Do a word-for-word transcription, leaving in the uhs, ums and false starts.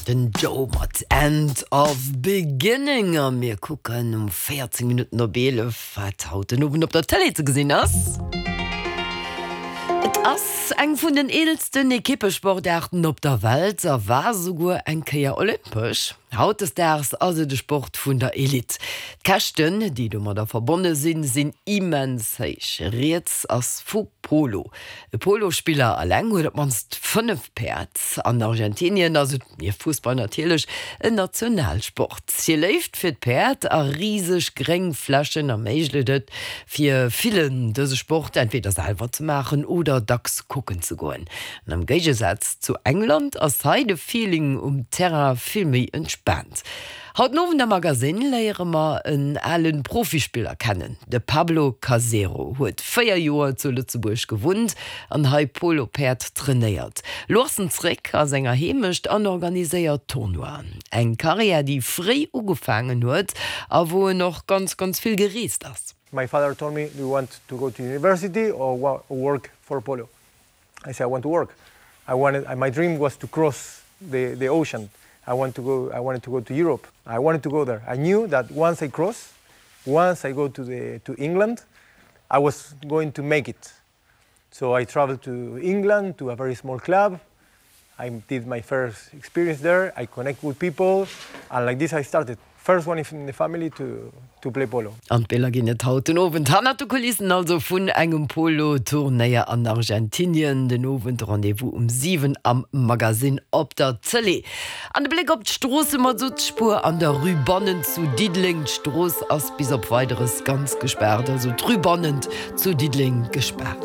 Den Joe mat End of Beginning a mir kucken um véierzéng Minutten op eelef, wat haut den Owend op der Tëlee ze gesinn ass. Et ass eng vun den eelsten Ekippesportaarten op der Welt a war souguer eng Kéier olympesch. Hautdesdaags ass et de Sport vun der Elite. D'Käschten, déi domadder verbonne sinn, sinn immens héich. Rieds ass vu Polo. E Polospiller eleng huet op d'mannst fënnef Päerd. An Argentinien ass et, nieft Fussball natierlech, en Nationalsport. Hir Léift fir d'Päerd a riseg gréng Flächen erméiglecht et fir villen, dëse Sport entweder selwer ze maachen oder dacks kucken ze goen. An am Géigesaz zu England ass hei de Feeling um Terrain vill méi entspaant. Haut den Owend am Magasinn léiere mer en ale Profispiller kennen. De Pablo Casero huet véier Joer zu Lëtzebuerg gewunnt an hei Polo-Päerd trainéiert. Lo ass en zréck a senger Heemecht an organiséiert Tournoien. Eng Karriär, déi fréi ugefaangen huet a wou en och ganz, ganz vill gereest ass. My father told me, do you want to go to university or work for polo? I said, I want to work. I wanted, my dream was to cross the, the ocean. I want to go, I wanted to go to Europe. I wanted to go there. I knew that once I cross, once I go to, the, to England, I was going to make it. So I traveled to England to a very small club. I did my first experience there. I connect with people, and like this I started. First one in the family to, to play polo. An d'Biller ginn et haut den Owend hannert de Kulissen also vun engem Polo-Turnéier an Argentinien. Den Owend Rendez-vous um siwen am Magasinn op der Tëlee. An de Bléck op d'Stroosse mat Sutzspuer an der Rue Bannent zu Diddeleng. D'Strooss ass bis op Weideres ganz gespaart, also d'Rue Bannent zu Diddeleng gespaart.